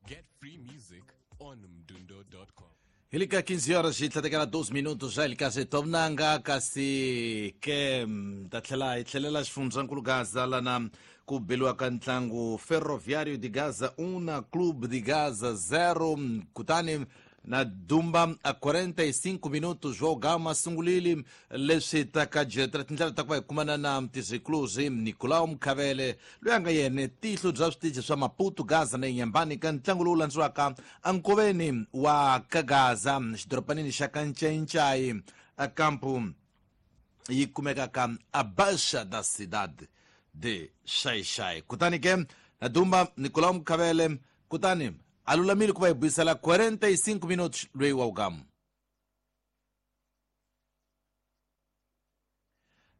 Get free music on mdundo.com. Ilika 15 horas e 32 minutos já ilika tomnanga kasi ke ta tlhela hi tlhelela xifundzankulu Gaza lana ku beliwa ka ntlangu Ferroviário de Gaza 1 na Clube de Gaza 0 kutani na Dumba a 45 minutos João Gama sungulile leswi ta ka jetra tindlela ta ku va hi kumana na mtizikluzi Nicolau Mkhavele loyi a nga yena tihlo bya switichi swa Maputo Gaza na Inhambane ka ntlangu lowu landziwaka ankoveni wa ka Gaza xidoropanini xa Kancencai a kampu yi kumekaka a Baixa da Cidade de Xai-Xai. Kutani ke na Dumba Nicolau Mkhavele kutani a lulamile ku va hi buyisela 45 minutos loyi wa ugamu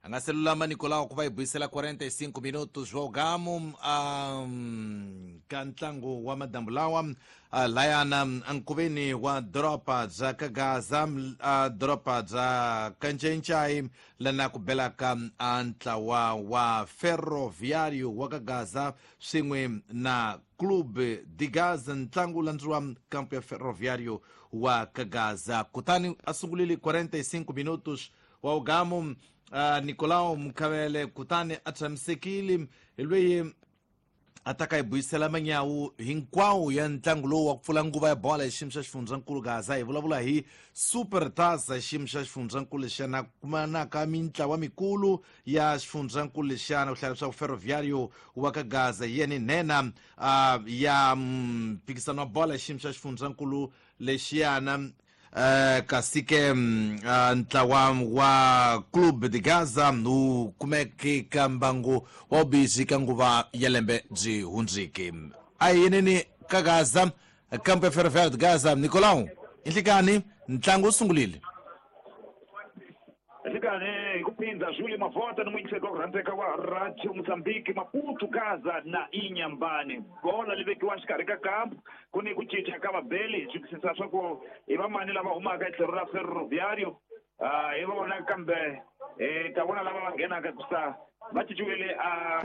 a nga se lulama Nicolau ku va hi buyisela 45 minutos wa ugamu ka ntlangu wa madambu lawa layana ankoveni wa doroba bya ka Gaza doroba bya Kancencai lana ku belaka a ntlawa wa Ferroviário wa ka Gaza swin'we na Clube de Gaza ntlangu landziwa kampo ya Ferroviário wa ka Gaza. Kutani a sungulile 45 minutos wa ugamu Nicolau Mkhavele kutani a tshamisekile hi loyi a ta ka hi buyisela manyawu hinkwawo ya ntlangu lowu wa ku pfula nguva ya bola hi xiyimo xa xifundzankulu Gaza. Hi vulavula hi Super Taça hi xiyimo xa xifundzankulu lexiyana kumanaka mintlawa mikulu ya xifundzankulu lexiyana ku hlaya leswaku Ferroviário wa ka Gaza hi yena nhenha ya mphikisano wa bola hi xiyimo xa xifundzankulu lexiyana. Kasi ke ntlawa wa Clube de Gaza wu kumeke ka mbangu wa vubizi ka nguva ya lembe byi hundziki. A hi yeneni ka Gaza kampo ya Ferroviário de Gaza. Nicolau, inhlikani ntlangu wu sungulile. Nhlikani hi ku phindha Júlio Mavota ni muyingiseri wa ku rhandzeka wa Radio Mozambique Maputo Gaza na Inhambane. Bola li vekiwa xikarhi ka kampu ku ni ku cinca ka vabeli hi twisisa swa ku i vamani lava humaka hi tlhelo ra Ferroviário hi vona kambe hi ta vona lava va nghenaka kusa va cinciwile a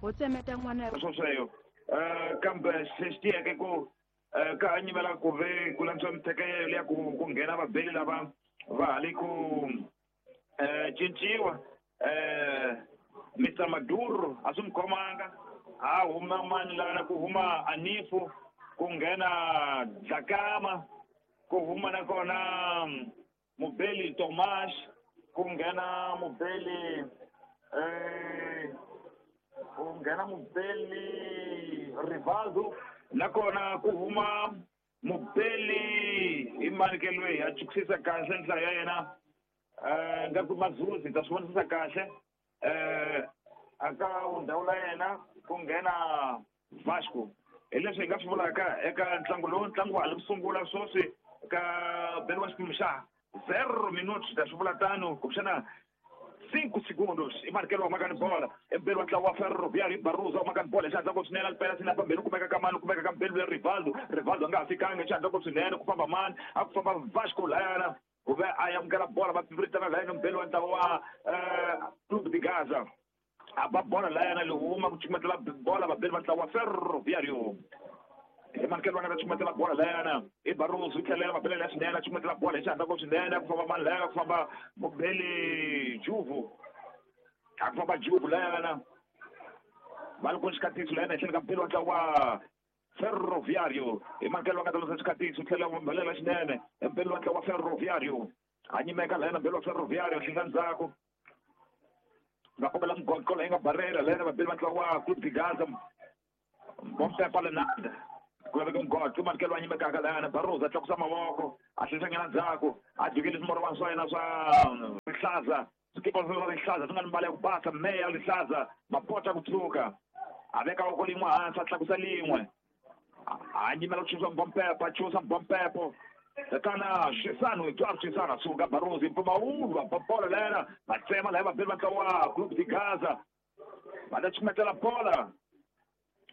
ho tsemeta n'wana swosweyo kambe xi tiyeke ku ka nyimela ku ve ku lantswa mithekelo ya ku nghena vabeli lava va ha le ku cinciwa. Mr Maduro a swi n'wi khomanga a huma mani lana ku huma Anifu ku nghena Dlakama ku huma nakona Mubeli Tomas ku nghena Mubeli ku nghena Mubeli Rivaldo nakona ku huma Mubeli i mani ke loyi a chukisisa kahle nhlayo ya yena nga ku Mazuzi ta swi vonisisa kahle aka ndhawu la yena ku nghena Vasco. Hi leswi hi nga swi vulaka eka ntlangu lowu ntlangu wa ha li ku sungula sweswi ka beriwa xiphemu xa 0 minutos ta swi vula tano kumbexana 5 segundos i markelo wa maka ni bola embeli wa ntlawa wa Ferroviário Barroso wa maka ni bola xandla ko swinene alipela sina pambeni kumeka ka mani kumeka ka mbeli ya Rivaldo. Rivaldo a nga ha fikanga xandla ko swinene ku famba mani a ku famba Vasco layana ku ve a amukela bola va piviritana layana mbeli wa ntlawa wa Clube de Gaza a ba bola layana li huma ku chumatela bola vabeli va ntlawa wa Ferroviário. Hi markelo va nga ta chumatela bola layana i Barroso tlhelela va belela swinene a chumatela bola hi xandla ko swinene ku famba mani layana ku famba Mubeli Juvu a ku famba Juvu layana va li ku xikatiso layana etlhelo ka mbeli wa ntlawa wa Ferroviário. Hi markelo va nga ta losa xikatiso tlhela va belela swinene mbeli wa ntlawa wa Ferroviário a nyimeka layana mbeli wa Ferroviário hlinga ndzhaku va kombela mugoqo leyi nga barela layana vabeli va ntlawa wa Clube de Gaza Bompepa Lenanda ku laveka mugoqo markelo wa nyimekaka layana Barroso a tlakusa mavoko a hlenhlanyana ndzhaku a jikile swimorwana swa yena swa rihlaza swikipa swa rihlaza swi nga ni mbala ya ku basa meya rihlaza mapota ku tshuka a veka voko lin'we hansi a tlakusa lin'we a nyimela ku chusa Bompepa chusa Bompepo tatana Xisano Eduardo Xisano suka Barroso mpfumawulo va bola layana va tsema laya vabeli va ntlawa wa Clube de Gaza va ta chumetela bola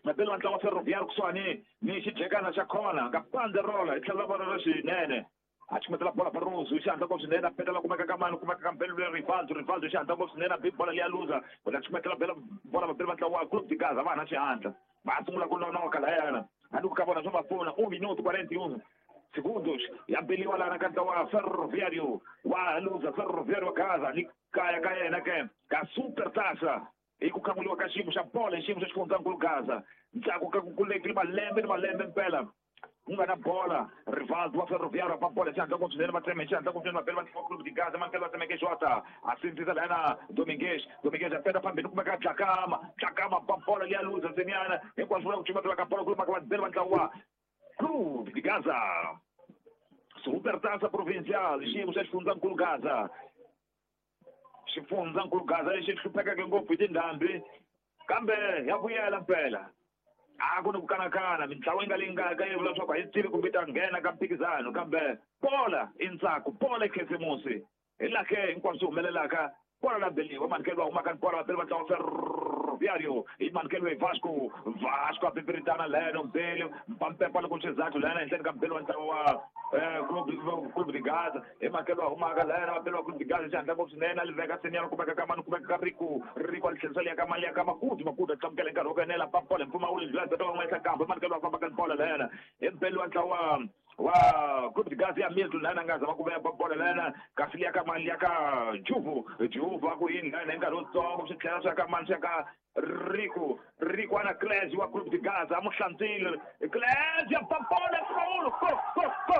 vabeli va ntlawa wa Ferroviário kusuhani ni xijekana xa khona nga banderola hi tlhelo ra vona ra xinene. A chukumetela bola Barroso xi hatla ngopfu swinene a petela kumeka ka mani kumeka ka Mbele Rivaldo Rivaldo xi hatla ngopfu swinene a bi bola liya luza kutani chukumetela bela bola vabeli va ntlawa wa Clube de Gaza va ha na xihatla va sungula ku nonoka layana hambi ku ka vona swo va pfuna 1 minuto 41 segundos ya beliwa lana ka ntlawa wa Ferroviário wa luza Ferroviário wa Gaza ni kaya ka yena ke ka Super Taça i ku khamuliwa ka xiyimo xa bola xiyimo xa xifundzankulu Gaza ndzhaku ka ku kulekile malembe ni malembe mpela ku nga na bola Rivaldo wa Ferroviário va bola xihatla ngopfu swinene va tseme xihatla ngopfu swinene vabeli va ntlawa Clube de Gaza mankele va tsemeke Jota a sindzisa lana Domingues Domingues a peta phambili kumeka Dlakama Dlakama ba bola liya luza ntseniana hinkwaswo vula ku cumatela ka bola kulumaka vabeli va ntlawa Clube de Gaza Supertaça Provincial xiyimo xa xifundzankulu Gaza xifundzankulu Gaza lexi hluphekeke ngopfu hi tindhambi kambe ya vuyela mpela a ku ni ku kanakana mintlawa yi nga leyi nga ka yi vula leswaku a yi tivi kumbe yi ta nghena ka mphikizano kambe bola i ntsako bola i khisimusi hi laha ke hinkwaswo swi humelelaka bola la beliwa manikelo va humaka ni bola vabeli va ntlawa Ferroviário i manikelo hi Vasco Vasco a pipiritana leno mbeli mpampepa loko xizathu lena henhleni ka mbeli wa ntlawa wa Clube de Gaza i manikelo va humaka lena vabeli va Clube de Gaza xihatla ngopfu swinene a li veka senior kumeka ka mani kumeka ka Rico Rico a li tlherisa liya ka mali ya ka Makudu Makudu a tlamukela hi nkarhi wo enela pabola mpfumawulo ndlela beta van'wana kambe manikelo va fambaka ni bola lena i mbeli wa ntlawa wa Clube de Gaza ya Milton lena nga zama ku veya bola lena kasi liya ka mali ya ka Juvu Juvu a ku yini lena hi nkarhi wutsongo swi tlhela swi ya ka mani swi ya ka Rico Rico ana Clésio wa Clube de Gaza a mu hlantswile Clésio ya pabola mpfumawulo go go go.